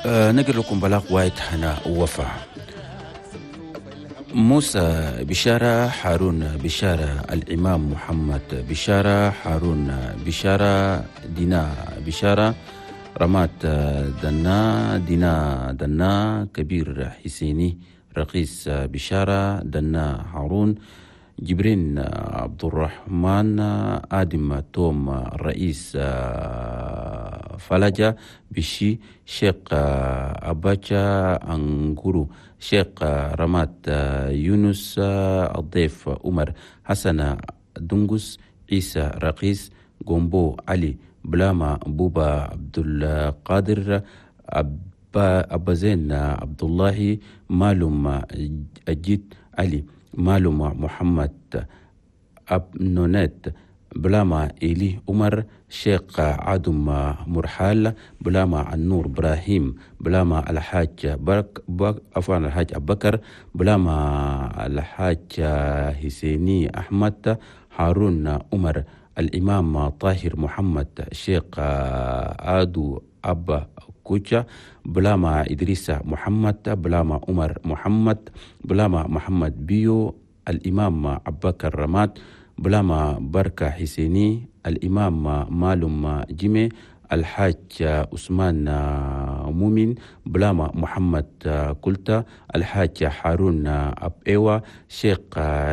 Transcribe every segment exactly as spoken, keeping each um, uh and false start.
نقل لكم بلاغ وايد هنا وفا. موسى بشارة، هارون بشارة، الإمام محمد بشارة، هارون بشارة، دينا بشارة، رمات دنا، دينا دنا، كبير حسيني، رقيس بشارة، دنا هارون، جبرين عبد الرحمن، آدم توم، الرئيس فلجة بشي، شيخ أباچا أنغورو، شيخ رمات يونس، الضيف عمر، حسن دنجس، عيسى رقيس، جومبو علي، بلاما بوبا عبد القادر، أبا أبا زين عبد الله، مالوم أجيد علي، مالوم محمد أبنونات، بلاما إلي عمر، شيخ عدم مرحال، بلاما النور إبراهيم، بلاما الحاج برك بك عفوا الحاج أبو بكر، بلاما الحاج حسيني أحمد، هارون عمر، الإمام طاهر محمد، شيخ آدو أبا كوتشا، بلاما إدريس محمد، بلاما عمر محمد، بلاما محمد بيو، الإمام أبو بكر رماد، بلاما بركة حسيني، الإمام مالوم جيمي، الحاج عثمان مؤمن، بلاما محمد كلتا، الحاج هارون أب إيوا، شيخ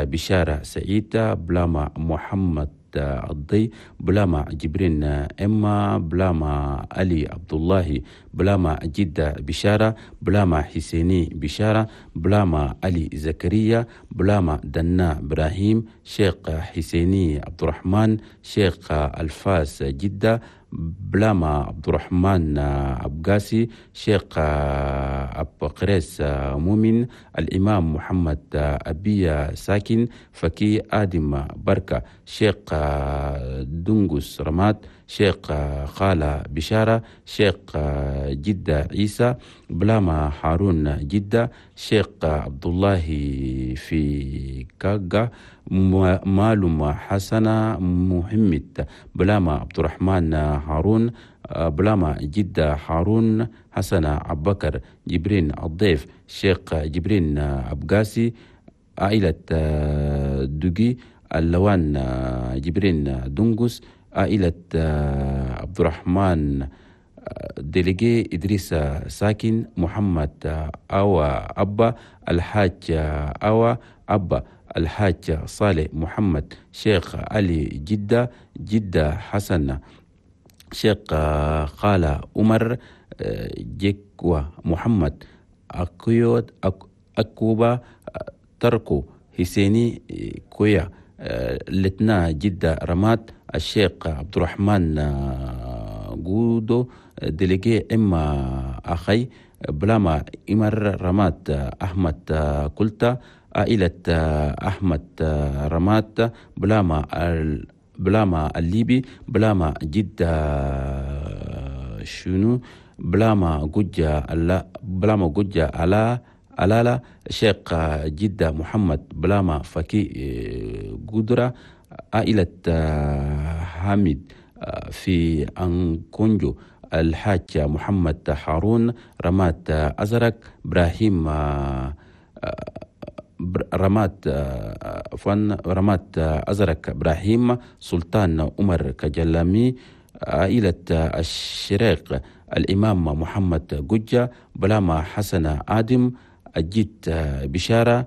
بشارة سعيد، بلاما محمد الضي، بلاما جبرين إما، بلاما علي عبد الله، بلاما جدة بشارة، بلاما حسيني بشارة، بلاما علي زكريا، بلاما دنا إبراهيم، شيخ حسيني عبد الرحمن، شيخ الفاس جدة، بلاما عبد الرحمن أبقاسي، شيخ أب قريس مؤمن، الإمام محمد أبي ساكن، فكي آدم بركة، شيخ دنجس رماد، شيخ خالة بشارة، شيخ جدة عيسى، بلاما هارون جدة، شيخ عبد الله في كاغا، مالوم حسن محمد، بلاما عبد الرحمن هارون، بلاما جدة هارون، حسن أبو بكر، جبرين الضيف، شيخ جبرين أبقاسي، عائلة دوغي، اللوان جبرين دنجس، عائلة عبد الرحمن délégué، إدريس ساكن، محمد أوا أبا، الحاج أوا أبا، الحاج صالح محمد، شيخ علي جدة، جدة حسن، شيخ خالة عمر، جيكوا محمد، أكيود أكوبا، تركو حسيني كويا، لتنا جدة رماد، الشيخ عبد الرحمن جودو délégué إما أخي، بلاما إمر رماد أحمد كلتا، عائلة أحمد رماد، بلاما بلاما الليبي، بلاما جدة شنو، بلاما جوجا بلاما جوجا على ألالا، شيخ جدة محمد، بلاما فكي قدرة، عائلة حامد في أنكونجو، الحاج محمد هارون، رمات أزرق، إبراهيم رمات فن رمات أزرق إبراهيم، سلطان عمر كجلامي، عائلة الشريق، الإمام محمد جوجة، بلاما حسن آدم، أجيت بشارة،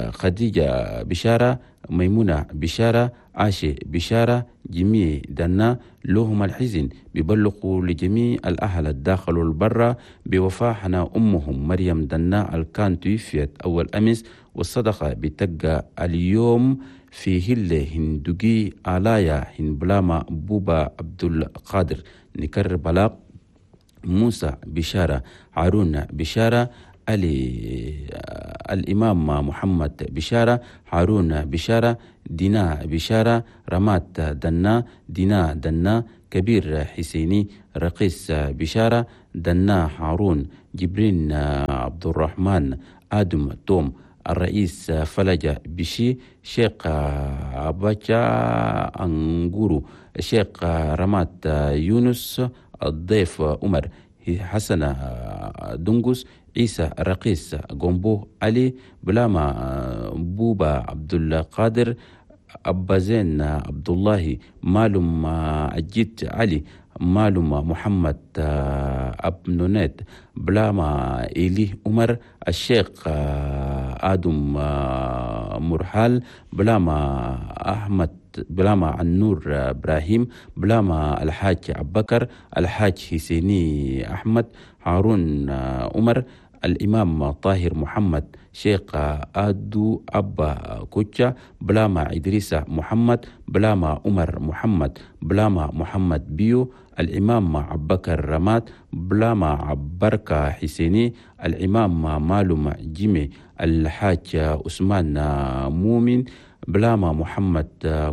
خديجة بشارة، ميمونة بشارة، عاشي بشارة، جميع دنا لهم الحزن بيبلغوا لجميع الأهل الداخل والبرة بوفاة حنا أمهم مريم دنا الكان توفيت أول أمس، والصدقة بتقى اليوم في هلة هندوغي آلايا هنبلاما بوبا عبد القادر. نكرر بلاغ موسى بشارة، هارون بشارة، علي الإمام محمد بشارة، هارون بشارة، دينا بشارة، رمات دنا، دينا دنا، كبير حسيني، رقيس بشارة، دنا هارون، جبرين عبد الرحمن، آدم توم، الرئيس فلجة بشي، شيخ أباچا أنغورو، شيخ رمات يونس، الضيف عمر، حسن دنقس عيسى رقيس قنبو علي بلاما بوبا عبد القادر أبا زين عبد الله مالم أجيت علي مالم محمد أبنونات بلاما إيلي عمر الشيخ آدم مرحال بلاما أحمد بلاما النور إبراهيم بلاما الحاج أبكر الحاج حسيني أحمد هارون عمر الإمام طاهر محمد شيخ آدو أبا كوتشا بلاما إدريس محمد بلاما عمر محمد بلاما محمد بيو الإمام عبكر رماد بلاما عبركة حسيني الإمام مالوم جيمي الحاج عثمان مومن بلاما محمد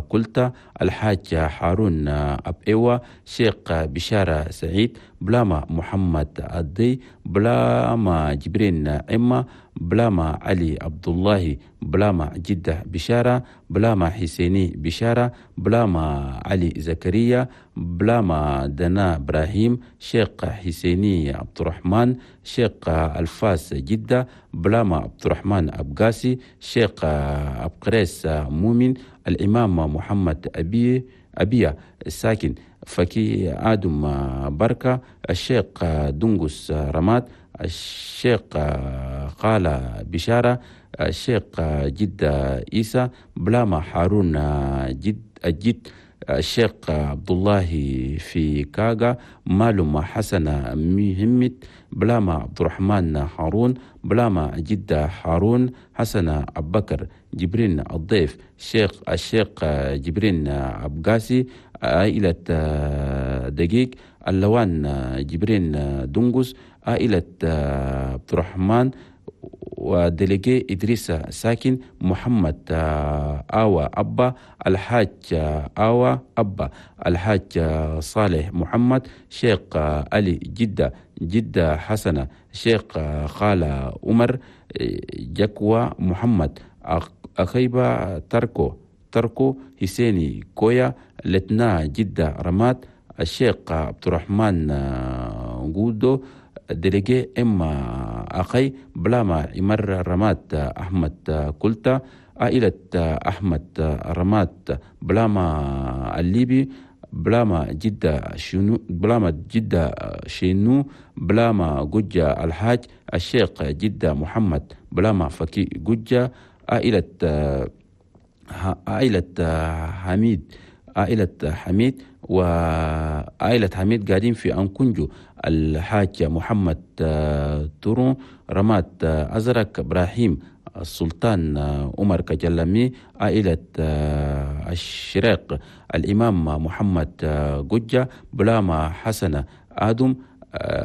كلتا الحاج هارون أبئوة شيخ بشارة سعيد بلاما محمد الدي بلاما جبرين إما بلاما علي عبد الله بلاما جدة بشارة بلاما حسيني بشارة بلاما علي زكريا بلاما دنا إبراهيم شيخ حسيني عبد الرحمن شيخ الفاس جدة بلاما عبد الرحمن أبقاسي شيخ أبقريس مؤمن الإمام محمد أبي أبيا الساكن فكي آدم بركة الشيخ دنقس رماد الشيخ قال بشارة الشيخ جدة إيسى بلاما هارون جد الجد الشيخ عبد الله في كاغا مالوم حسن مهمت بلاما عبد الرحمن هارون بلاما جدة هارون حسن أبكر جبرين الضيف شيخ الشيخ جبرين أبقاسي عائلة دقيق اللوان جبرين دنقس عائلة عبد الرحمن وديليجي إدريس ساكن محمد آوى أبا الحاج آوى أبا الحاج صالح محمد شيخ علي جدة جدة حسنة شيخ خالة عمر جكوى محمد أخيبة تركو تركو حسيني كويا لتنا جدة رماد الشيخ عبد الرحمن جودو ديليجي إما أخي بلاما إمر رماد أحمد كلتا عائلة أحمد رماد بلاما الليبي بلاما جدة شنو بلاما جدة شنو بلاما جوجة الحاج الشيخ جدة محمد بلاما فكي جوجة عائلة عائلة حميد عائلة حميد وعائلة حميد قاعدين في أنكونجو الحاج محمد تورون رماد أزرق إبراهيم السلطان عمر كجلمي عائلة الشراق الإمام محمد جوجة بلاما حسن آدم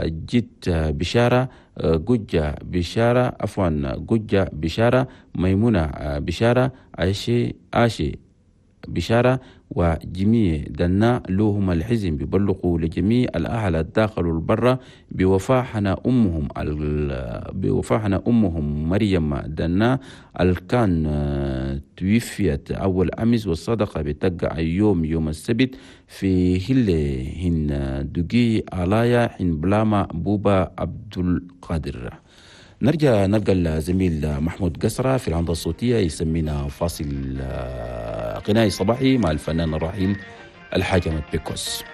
جد بشارة جوجة بشارة عفوا جوجة بشارة ميمونة بشارة عاشي عاشي بشارة وجميع دنا لهم الحزن بيبلغوا لجميع الأهل الداخل والبرة بوفاحنا أمهم بوفاحنا أمهم مريم دنا الكان توفيت أول أمس والصدقة بتقع يوم يوم السبت في هل هن دقي علايا حين بلاما بوبا عبد القادر. نرجع نلقى الزميل محمود قسرة في العمدة الصوتية يسمينا فاصل غنائي صباحي مع الفنان الراحل الحاج أحمد بيكوس.